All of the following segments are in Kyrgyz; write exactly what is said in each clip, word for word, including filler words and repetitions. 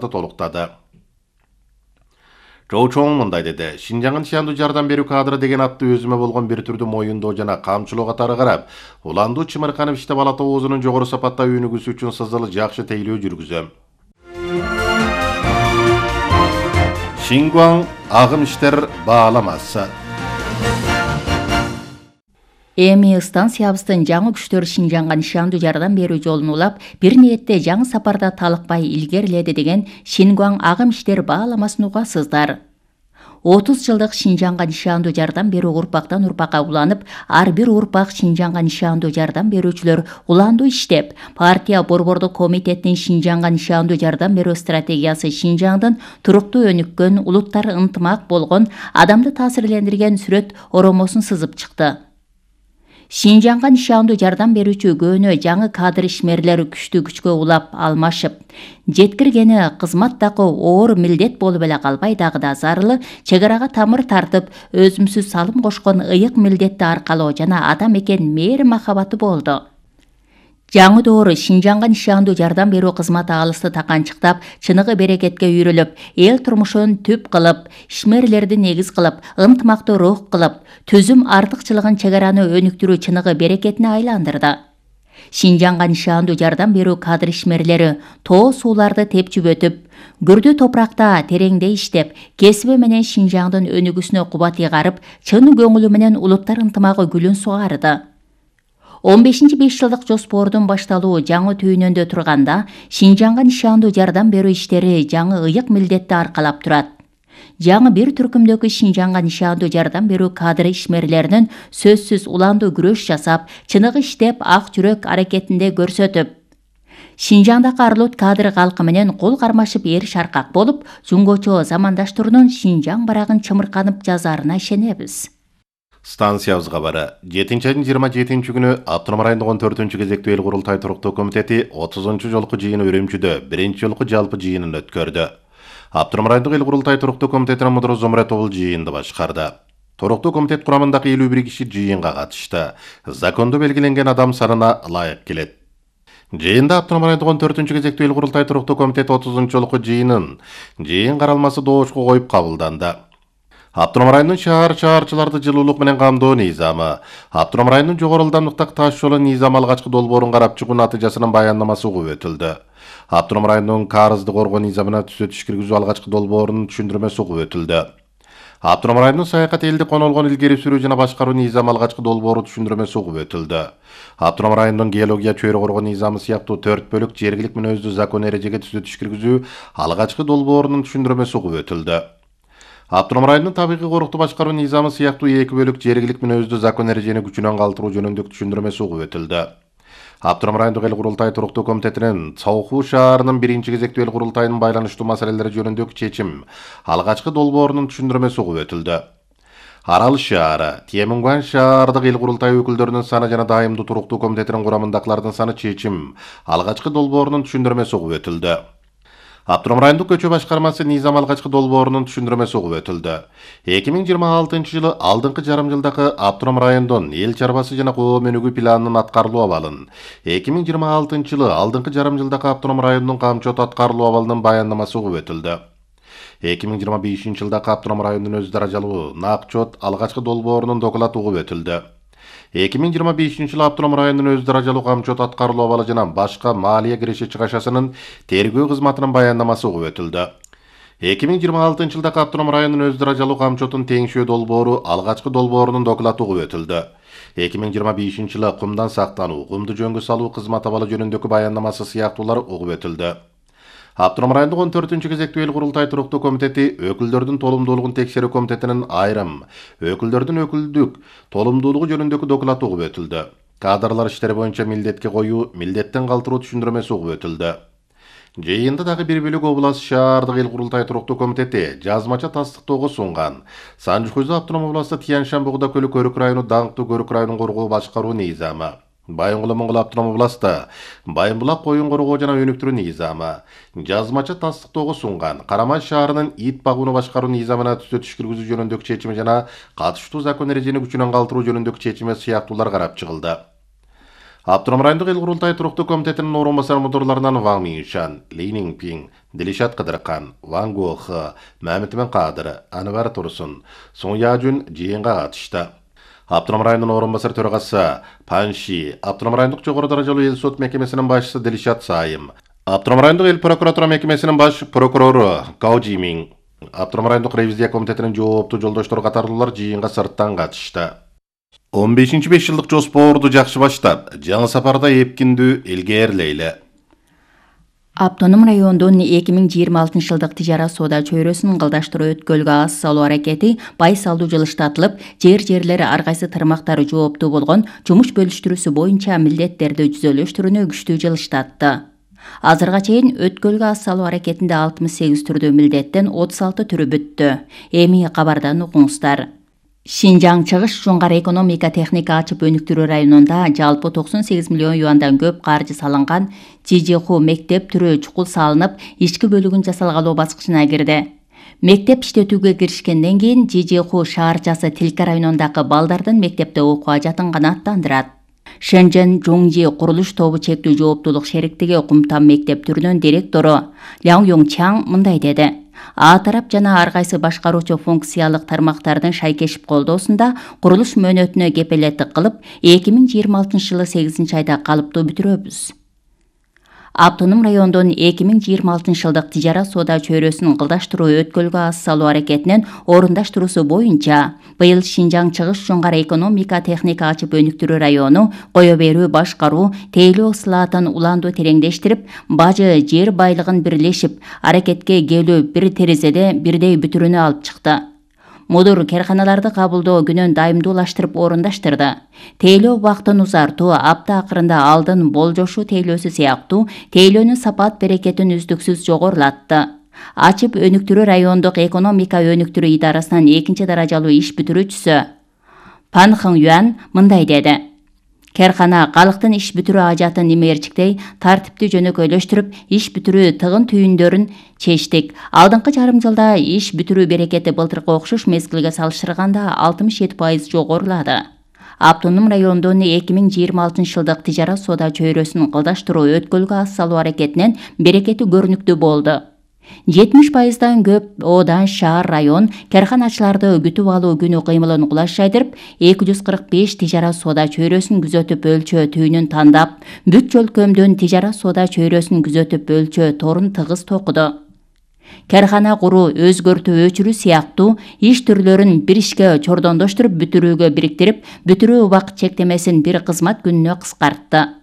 толуктады. Чоу Чоң мындай деди: Шинжаңга нишандуу жардам берүү кадры деген атты өзүмө болгон бир түрдүү моюндоо жана камчылоо катары карап, Уландуу Чымырканов иштеп ала тобозунун жогору сапаттагы өнүгүүсү үчүн сызылы жакшы тейлөө жүргүзөм. Шингуан агым иштер бааламасы. Эми станциябыздын жаңы күчтөр Шинжаңга нишандуу жардам берүү жолун улап, бир ниетте жаңы сапарда талыкпай илгериледи деген Шингуан агым иштер бааламасын угасыздар. отуз жылдык Шинжаңга нишандуу жардам берүү урпактан урпакка уланып, ар бир урпак Шинжаңга нишандуу жардам берүүчүлөр уландуу иштеп, партия борбордук комитетинин Шинжаңга нишандуу жардам берүү стратегиясы Шинжаңдын туруктуу өнүккөн, улуттар ынтымак болгон, адамды таасирлендирген сүрөт оромосун сызып чыкты. Шинжаңга нишандуу жардам берүүчү көөнө жаңы кадр ишмерлери күчтүү күчкө улап алмашып, жеткиргени кызматтагы оор милдет болуп эле калбай дагы да зарылы чек арага тамыр тартып, өзүмсүз салым кошкон ыйык милдетти аркалоо жана ата мекен мээри махабаты болду. Жаңы доору Шинжаңга нишандуу жардам берүү кызматы алысты таканчыктап, чыныгы берекетке үйрөлүп, эл турмушун түп кылып, ишмерлерди негиз кылып, ынтымактуу рух кылып, түзүм артыкчылыгын чек араны өнүктүрүү чыныгы берекетине айландырды. Шинжаңга нишандуу жардам берүү кадр ишмерлери тоо сууларды тепчип өтүп, күрдүү топуракта тереңде иштеп, кесиби менен Шинжаңдын өнүгүүсүнө кубат ыйгарып, чын көңүлү менен улуттар ынтымагы гүлүн сугарды. он бешинчи беш жылдык жоспордун башталуу жаңы түйүнөндө турганда, Шинжаңга нишандуу жардам берүү иштери жаңы ыйык милдетти аркалап турат. Жаңы бир түркүмдөгү Шинжаңга нишандуу жардам берүү кадр ишмерлеринин сөзсүз уландуу күрөш жасап, чыныгы иштеп, ак жүрөк аракетинде көрсөтүп, Шинжаңдагы арлут кадр калкы менен кол кармашып эр шаркак болуп, жунгочо замандаштарынын Шинжаң барагын чымырканып жазарына ишенебиз. Станциябызга бары жетинчи айдын жыйырма жетинчи күнү Автоном райондук он төртүнчү кезектүү эл курултай туруктуу комитети отузунчу жолку жыйыны Үрүмчүдө биринчи жолку жалпы жыйынын өткөрдү. Автоном райондук эл курултай туруктуу комитетинин мудуру Зомуратовул жыйынды башкарды. Туруктуу комитет курамындагы элүү бир киши жыйынга катышты. Закондо белгиленген адам санына ылайык келет. Жыйында Автоном райондук он төртүнчү кезектүү эл курултай туруктуу комитет отузунчу жолку жыйынын жыйын каралмасы доошко коюп кабылданды. Автоном районунун шаар чаарчыларды жылуулук менен камдоо низамы, Автоном районунун жогору ылдамдыктагы таш жолу низамы алгачкы долбоорун карап чыгуу натыйжасынын баяндамасы угуп өтүлдү. Автоном районунун карызды коргоо низамына түзөтүш киргизүү алгачкы долбоорунун түшүндүрмөсү угуп өтүлдү. Автоном районунун саякат элди конолгон илгери сүрүү жана башкаруу низамы алгачкы долбоору түшүндүрмөсү угуп өтүлдү. Автоном районунун геология чөйрө коргоо низамы сыяктуу төрт бөлүк жергилик мүнөздүү закон эрежеге түзөтүш киргизүү алгачкы долбоорунун түшүндүрмөсү угуп өтүлдү. Автоном районунун табигый корукту башкаруу низамы сыяктуу эки бөлүк жергилик мүнөздүү закон эрежени күчүнөн калтыруу жөнүндөгү түшүндүрмөсү угуп өтүлдү. Автоном райондук эл курултай туруктуу комитетинин Цауху шаарынын биринчи кезектүү эл курултайынын байланыштуу маселелери жөнүндөгү чечим алгачкы долбоорунун түшүндүрмөсү угуп өтүлдү. Арал шаары, Темунган шаардык эл курултай өкүлдөрүнүн саны жана дайымдуу туруктуу комитетинин курамындагылардын саны чечим алгачкы долбоорунун түшүндүрмөсү угуп өтүлдү. Автоном райондук көчө башкармасы низам алгачкы долбоорунун түшүндүрмөсү угуп өтүлдү. эки миң жыйырма алтынчы жылы алдыңкы жарым жылдагы Автоном райондун эл чарбасы жана коом өнүгүү планынын аткарылуу абалын, эки миң жыйырма алтынчы жылы алдыңкы жарым жылдагы Автоном районунун камчот аткарылуу абалынын баяндамасы угуп өтүлдү. эки миң жыйырма бешинчи жылдагы Автоном районунун өз даражалуу накчот алгачкы долбоорунун доклады угуп өтүлдү. эки миң жыйырма бешинчи жылы Автоном районунун өз даражалуу камчот аткарылуу абалы жана башка маалия киреше чыгашасынын тергөө кызматынын баяндамасы угуп өтүлдү. эки миң жыйырма алтынчы жылдагы Автоном районунун өз даражалуу камчотун теңшөө долбоору алгачкы долбоорунун доклады угуп өтүлдү. эки миң жыйырма бешинчи жылы кумдан сактануу, кумду жөнгө салуу кызмат абалы жөнүндөгү баяндамасы сыяктуулар угуп өтүлдү. Автоном райондук он төртүнчү кезектүү эл курултай туруктуу комитети өкүлдөрдүн толумдуулугун текшерүү комитетинин айрым өкүлдөрдүн өкүлдүк толумдуулугу жөнүндөгү доклады угуп өтүлдү. Кадрлар иштери боюнча милдетке коюу, милдеттен калтыруу түшүндүрмөсү угуп өтүлдү. Жыйында дагы бир бөлүк область шаардык эл курултай туруктуу комитети жазмача тастыктоого сунган Санжыкөзү автоном областы Тяньшан Бугда көлү Көрүк району даңктуу Көрүк районун коргоо башкаруу низамы, Байынгул Моңгол автоном областы Байымбулак коюн коргоо жана өнүктүрүү низамы, жазмача тастыктоого сунган Карамай шаарынын ит багууну башкаруу низамына түзөтүш киргизүү жөнүндөгү чечими жана катыштуу закон эрежени күчүнөн калтыруу жөнүндөгү чечими сыяктуулар карап чыгылды. Автоном райондук эл курултай туруктуу комитетинин орун басар мудурларынан Ван Миншан, Ли Ниңпиң, Дилишат Кыдыркан, Ван Гохы, Мамитмен Кадыр, Анвар Турсун, Сун Яжун жыйынга катышты. Автоном районунун орун басар төрагасы Пан Ши, Автоном райондук жогору даражалуу эл сот мекемесинин башчысы Дилишат Сайым, Автоном райондук эл прокуратура мекемесинин баш прокурору Гау Жимиң, Автоном райондук ревизия комитетинин жооптуу жолдоштору катарлуулар жыйынга сырттан катышты. он бешинчи беш жылдык жоспорду жакшы баштап, жаңы сапарда эпкиндүү илгээрлейли. Автоном райондун эки миң жыйырма алтынчы жылдык тижара соода чөйрөсүн кылдаштыруу өткөлгө аз салуу аракети бай салуу жылыштатылып, жер-жерлери ар кайсы тармактары жооптуу болгон жумуш бөлүштүрүүсү боюнча милдеттерди жүзөлөштүрүүнү күчтүү жылыштатты. Азырга чейин өткөлгө аз салуу аракетинде алтымыш сегиз түрдүү милдеттен отуз алты түрү бүттү. Эми кабардан угуңуздар. Шинжаң чыгыш Жоңгар экономика техника ачып өнүктүрүү районунда жалпы токсон сегиз миллион юандан көп каржы салынган Жижиху мектеп түрү чукул салынып, ички бөлүгүн жасалгалоо баскычына кирди. Мектеп иштетүүгө киришкенден кийин Жижиху шаарчасы Тилка районундагы балдардын мектепте окууга жатынганы аттандырат. Шэнжэн Жоңжи курулуш тобу чектүү жооптуулук шериктиги Кумтам мектеп түрүнүн директору Ляң Йоңчаң мындай деди. А тарап жана ар кайсы башкаруучу функциялык тармактардын шайкешип колдоосунда курулуш мөөнөтүнө кепелеттик кылып, эки миң жыйырма алтынчы жылы сегизинчи айда калыптуу бүтүрөбүз. Автоном райондун эки миң жыйырма алтынчы жылдык тижара соода чөйрөсүн кылдаштыруу өткөлгө аз салуу аракетинин орундаштыруусу боюнча быйыл Шинжаң чыгыш Жоңгар экономика техника ачып өнүктүрүү району кое берүү башкаруу тейлөө ысылаатын уланду тереңдештирип, бажы жер байлыгын бирлешип, аракетке келүү бир терезеде бирдей бүтүрүүнү алып чыкты. Мудур керканаларды кабылдоо күнөн дайымдуулаштырып орундаштырды. Тейлөө убактын узартуу, апта акырында алдын болжошуу тейлөөсү сыяктуу тейлөөнүн сапат берекетин үздүксүз жогорулатты. Ачып өнүктүрүү райондук экономика өнүктүрүү идарасынын экинчи даражалуу иш бүтүрүүчүсү Пан Хың Юан мындай деди. Керкана калктын иш бүтүрүү ажатын имээрчиктей тартипти жөнөкөйлөштүрүп, иш бүтүрүү тыгын түйүндөрүн чечтик. Алдыңкы жарым жылда иш бүтүрүү берекети былтыркы окшош мезгилге салыштырганда алтымыш жети пайыз жогорулады. Автоном райондун эки миң жыйырма алтынчы жылдык тижара соода чөйрөсүн кылдаштыруу өткөлгө аз салуу аракетинен берекети көрүнүктүү болду. жетимиш пайыздан көп Одан шаар район керканачыларды күтүп алуу күнү кыймылын кулаш жайдырып, эки жүз кырк беш тижара соода чөйрөсүн күзөтүп өлчөө түйүнүн тандап, бүт жөлкөмдөн тижара соода чөйрөсүн күзөтүп өлчөө торун тыгыз токуду. Керкана куруу, өзгөртүү, өчүрүү сыяктуу иш түрлөрүн бир ишке чордондоштуруп, бүтүрүүгө бириктирип, бүтүрүү убакыт чектемесин бир кызмат күнүнө кыскартты.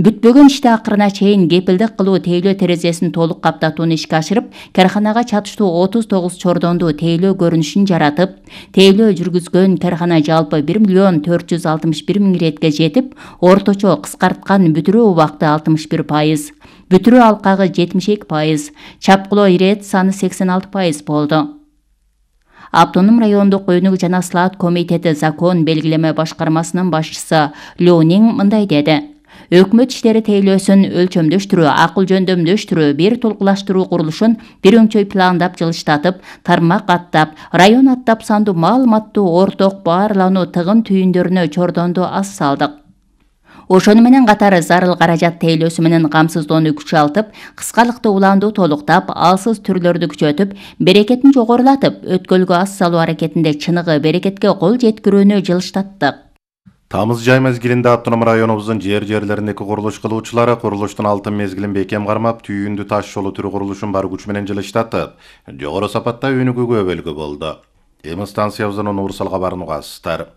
Бүтпөгөн ишти акырына чейин кепилдик кылуу тейлөө терезесин толук каптатууну ишке ашырып, керканага чатыштуу отуз тогуз чордондуу тейлөө көрүнүшүн жаратып, тейлөө жүргүзгөн керкана жалпы бир миллион төрт жүз алтымыш бир миң иретке жетип, орточо кыскарткан бүтүрүү убакыты алтымыш бир пайыз, бүтүрүү алкагы жетимиш эки пайыз, чапкылоо ирет саны сексен алты пайыз болду. Автоном райондук өнүк жана слаат комитети закон белгилеме башкармасынын башчысы Лю Ниң мындай деди. Өкмөт иштери тейлөөсүн өлчөмдөштүрүү, акыл жөндөмдөштүрүү, бир толкулаштыруу курулушун бир өңчөй пландап жылыштатып, тармак аттап, район аттап сандуу маалыматтуу орток баарлануу тыгын түйүндөрүнө чордонду аз салдык. Ошону менен катары зарыл каражат тейлөөсү менен камсыздоону күчалтып, кыскалыкты уланду толуктап, алсыз түрлөрдү күчөтүп, берекетин жогорулатып, өткөлгө аз салуу аракетинде чыныгы берекетке кол жеткирүүнү жылыштаттык. Тамыз жай мезгилинде Автоном районубуздун жер-жерлериндеки курулуш кылуучулары курулуштун алтын мезгилин бекем кармап, түйүндү таш жолу түрү курулушун бар күч менен жылыштатып, жогору сапатта өнүгүүгө өбөлгү болду. Эми станциябыздын Уурсал кабарын угасыздар.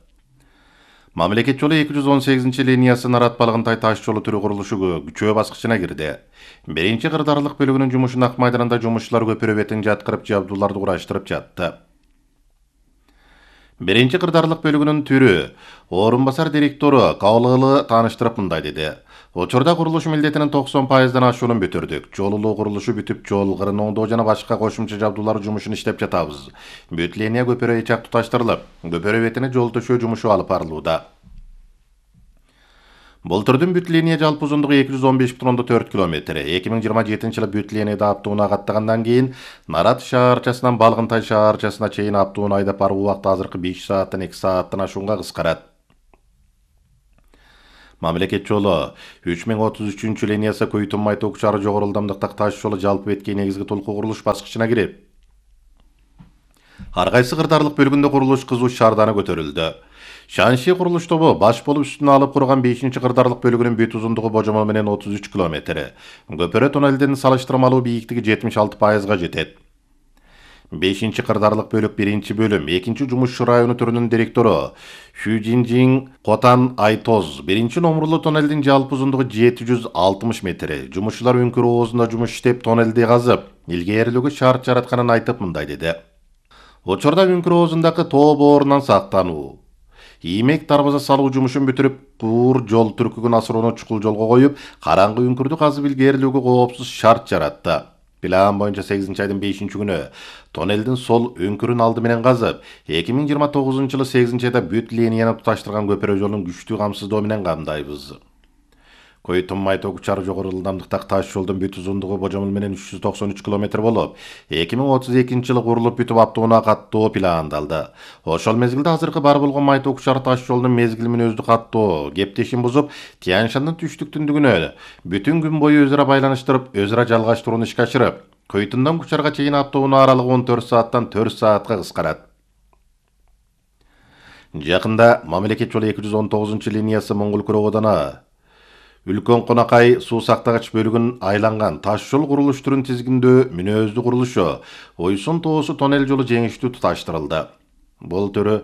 Мамлекет жолу эки жүз он сегизинчи линиясы Нарат Балгынтай таш жолу түрү курулушу күчөө баскычына кирди. Биринчи кырдаарлык бөлүгүнүн жумушунун ак майданында жумушчулар көпүрө бетин жаткырып, жабдууларды кураштырып жатты. Биринчи кырдаарлык бөлүгүнүн түрү орун басар директору Каулыгылы тааныштырып мындай деди. Учурда курулуш милдетинин токсон пайыздан ашуунун бүтүрдүк. Жолулуу курулушу бүтүп, жол кырын оңдоо жана башка кошумча жабдуулар жумушун иштеп жатабыз. Бүт линия көпүрө ичак туташтырылып, көпүрө бетине жол төшөө жумушу алып барылууда. Былтырдын бүт линия жалпы узундугу эки жүз он беш бүтүн ондон төрт километр. эки миң жыйырма жетинчи жылы бүт линияда аптууну агаттагандан кийин Нарат шаарчасынан Балгынтай шаарчасына чейин аптууну айдап баруу убакыты азыркы беш сааттан эки сааттан ашуунга кыскарат. Мамлекет жолу үч миң отуз үчүнчү линиясы Көйтүн Май Ток шаары жогору ылдамдыктагы таш жолу жалпы бетке негизги толку курулуш баскычына кирип, ар кайсы кырдаарлык бөлүгүндө курулуш кызуу шаарданы көтөрүлдү. Шанши курулуш тобу баш болуп үстүнө алып курган бешинчи кырдаарлык бөлүгүнүн бүт узундугу божомол менен отуз үч километр. Көпөрө тоннелдин салыштырмалуу бийиктиги жетимиш алты пайызга жетет. бешинчи кырдаарлык бөлүк биринчи бөлүм экинчи жумушчу району түрүнүн директору Шүжинжин Котан Айтоз биринчи номурлуу тоннелдин жалпы узундугу жети жүз алтымыш метр. Жумушчулар үңкүр оозунда жумуш иштеп тоннелди казып, илгээрилүүгө шарт жаратканын айтып мындай деди. Учурда үңкүр оозундагы тоо боорунан сактануу, иймек дарбаза салуу жумушун бүтүрүп, куур жол түркүгүн асырууну чукул жолго коюп, караңгы үңкүрдү казып илгээрилүүгө коопсуз шарт жаратты. План боюнча сегизинчи айдын бешинчи күнү тоннелдин сол өңкүрүн алды менен казып, эки миң жыйырма тогузунчу жылы сегизинчи айда бүт линияны туташтырган көпөрө жолун күчтүү камсыздоо менен камдайбыз. Көйтүн Май Ток шаары жогору ылдамдыктагы таш жолдун бүт узундугу божомол менен үч жүз токсон үч километр болуп, эки миң отуз экинчи жылы курулуп бүтүп аптоунаа каттоо пландалды. Ошол мезгилде азыркы бар болгон Май Ток шаары таш жолунун мезгил мүнөздүү каттоо кептешин бузуп, Тянь-Шандын түштүк-түндүгүнө бүтүн күн бою өзара байланыштырып, өзара жалгаштырууну ишке ашырып, Көйтүндөн Кучарга чейин аптоунаа аралыгы он төрт сааттан төрт саатка кыскарат. Жакында мамлекет жолу эки жүз он тогузунчу линиясы Моңгол-Кыроодана Үлкөн Конакай суу сактагач бөлүгүн айланган таш жол курулуш түрүн тизгиндөө мүнөздүү курулушу Ойсун тоосу тоннел жолу жеңиштүү туташтырылды. Бул түрү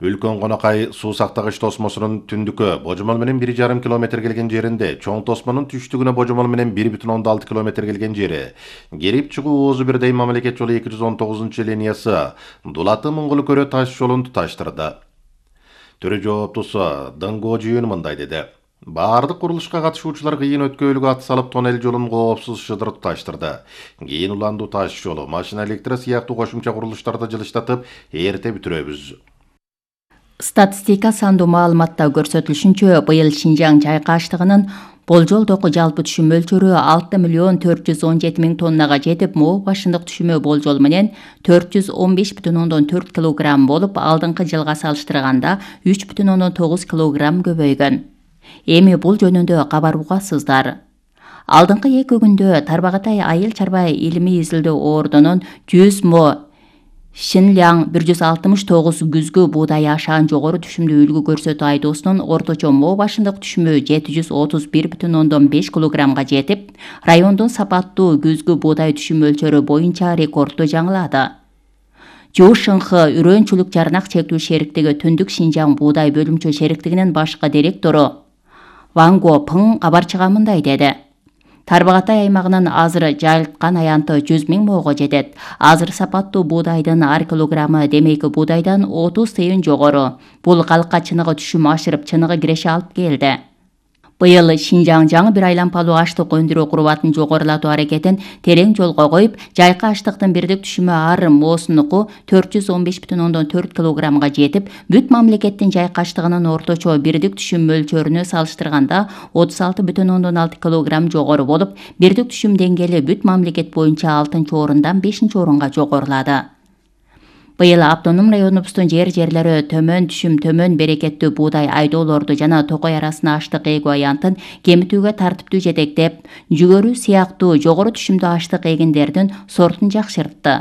Үлкөн Конакай суу сактагач тосмосунун түндүккө божомол менен бир жарым километр келген жеринде, чоң тосмонун түштүгүнө божомол менен бир бүтүн ондон алты километр келген жери, кирип чыгуу оозу бирдей мамлекет жолу эки жүз он тогузунчу линиясы Дулаты Моңгол-Көрө таш жолун туташтырды. Түрү жооптусу Дыңго Жүйүн мындай деди. Баардык курулушка катышуучулар кыйын өткөөлүгү ат салып тоннел жолун коопсуз шыдыр туташтырды. Кийин уландуу таш жолу, машина электро сыяктуу кошумча курулуштарды жылыштатып, эрте бүтүрөбүз. Статистика сандуу маалыматта көрсөтүлүшүнчө, быйыл Шинжаң жайкаштыгынын болжолдогу жалпы түшүм мөлчөрү алты миллион төрт жүз он жети миң тоннага жетип, моо башындык түшүмү болжол менен төрт жүз он беш бүтүн ондон төрт килограмм болуп, алдыңкы жылга салыштырганда үч бүтүн ондон тогуз килограмм көбөйгөн. Эми бул жөнүндө кабар угасыздар. Алдыңкы эки күндө Тарбағатай айыл чарба илимий изилдөө ордунун жүз мо Шинляң бир жүз алтымыш тогуз күзгү буудай ашаан жогору түшүмдүү үлгү көрсөтүү айдоосунун орточо моо башындык түшүмү жети жүз отуз бир бүтүн ондон беш килограммга жетип, райондун сапаттуу күзгү буудай түшүм мөлчөрү боюнча рекордду жаңылады. Жуушынхы үрөөнчүлүк жарнак чектүү шериктиги Түндүк Шинжаң буудай бөлүмчө шериктигинин башкы директору Ванго Пың кабарчыга мындай деди. Тарбағатай аймагынын азыр жайылткан аянты жүз миң моого жетет. Азыр сапаттуу буудайдын ар килограммы демейки буудайдан отуз тыйын жогору. Бул калкка чыныгы түшүм ашырып, чыныгы киреше алып келди. Быйыл Шинжаң жаңы бир айлампалуу аштык өндүрүү курубатын жогорулатуу аракетин терең жолго коюп, жайкы аштыктын бирдик түшүмү ар моосунуку төрт жүз он беш бүтүн ондон төрт килограммга жетип, бүт мамлекеттин жайкы аштыгынын орточо бирдик түшүм мөлчөрүнө салыштырганда отуз алты бүтүн ондон алты килограмм жогору болуп, бирдик түшүм деңгээли бүт мамлекет боюнча алтынчы орундан бешинчи орунга жогорулады. Быйыл автоном районубуздун жер-жерлери төмөн түшүм, төмөн берекеттүү буудай айдоолорду жана токой арасына аштык эгүү аянтын кемитүүгө тартиптүү жетектеп, жүгөрү сыяктуу жогору түшүмдүү аштык эгиндердин сортун жакшыртты.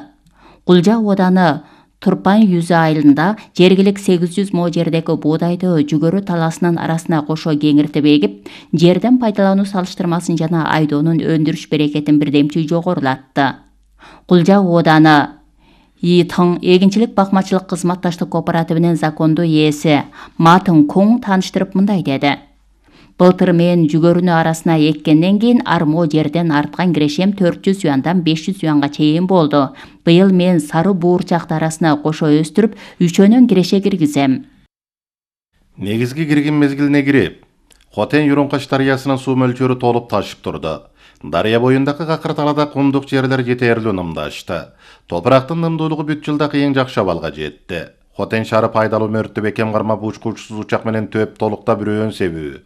Кулжа ооданы Турпан Юзы айылында жергилик сегиз жүз мо жердеги буудайды жүгөрү таласынын арасына кошо кеңиртип эгип, жерден пайдалануу салыштырмасын жана айдоонун өндүрүш берекетин бирдемчи жогорулатты. Кулжа ооданы Итың эгинчилик бакмачылык кызматташтык кооперативинин закондуу ээси Матын Коң тааныштырып мындай деди. Былтыр мен жүгөрүнү арасына эккенден кийин армо жерден арткан кирешем төрт жүз юандан беш жүз юанга чейин болду. Быйыл мен сары буурчакты арасына кошо өстүрүп, үчөөнөн киреше киргизем. Негизги кирген мезгилине кирип, Хотен-Юрункаш дарыясынын суу мөлчөрү толуп ташып турду. Дарыя боюндагы какыр талада кумдук жерлер жетерлүү нымдашты. Топурактын нымдуулугу бүт жылда кыйын жакшы абалга жетти. Хотен шаары пайдалуу мөрттү бекем кармап учкучсуз учак менен төп толуктап үрөөн себүү.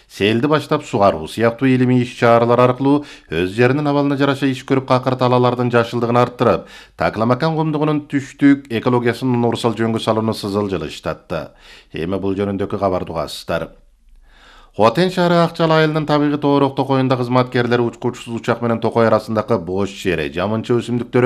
Селди баштап сугаруу сыяктуу илимий иш-чаралар аркылуу өз жеринин абалына жараша иш көрүп какыр талалардын жашылдыгын арттырып, Такламакан кумдугунун түштүк экологиясын урсал жөнгө салууну сызыл жылыштатты. Эми бул жөнүндөгү кабарды угасыздар. Хотен шаары Акчал айылынын табигый тоорок токоюнда кызматкерлери учкучсуз учак менен токой арасындагы бош жери, жамынча өсүмдүктөрү